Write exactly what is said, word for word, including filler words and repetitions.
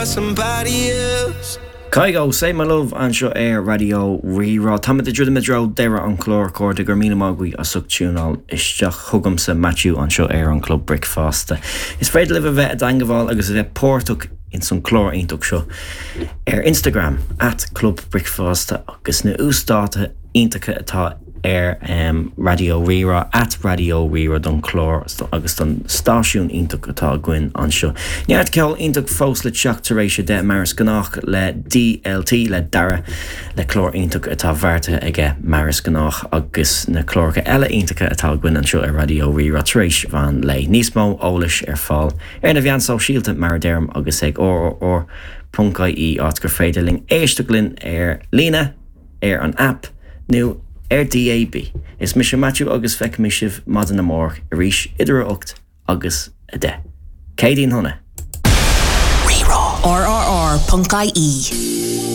for somebody else. Kygo Save My Love anseo ar Raidió Rí-Rá Táimid ag druidim i dtreo deireadh an chláir a chairde go raibh míle maith agaibh as ucht tiúnáil isteach chugamsa Matthew anseo ar an Club Bricfeasta. Is féidir libh a bheith i dteagmháil agus a bheith páirteach in san chlár iontach seo ar Instagram at Club Bricfeasta agus na uasdáta iontacha atá ar um, Raidió Rí-Rá at Raidió Rí-Rá don chlár agus don stáisiún iontach atá againn anseo. Neart ceol iontach fós le teacht tar éis a deich mar is gnách le DLT le Dara le clár iontach atá beartaithe aige mar is gnách agus na cláracha eile iontacha atá againn anseo ar Raidió Rí-Rá tar éis mheán lae. Níos mó eolais ar fáil ar na meáin shóisialta mar a deirim agus ag rrr.ie áit gur féidir linn éisteacht linn ar líne ar an app nó ar DAB. Is mise Matthew agus feicfidh sibh maidin amárach arís idir a hocht agus a deich. Céadaoin shona. RRR.ie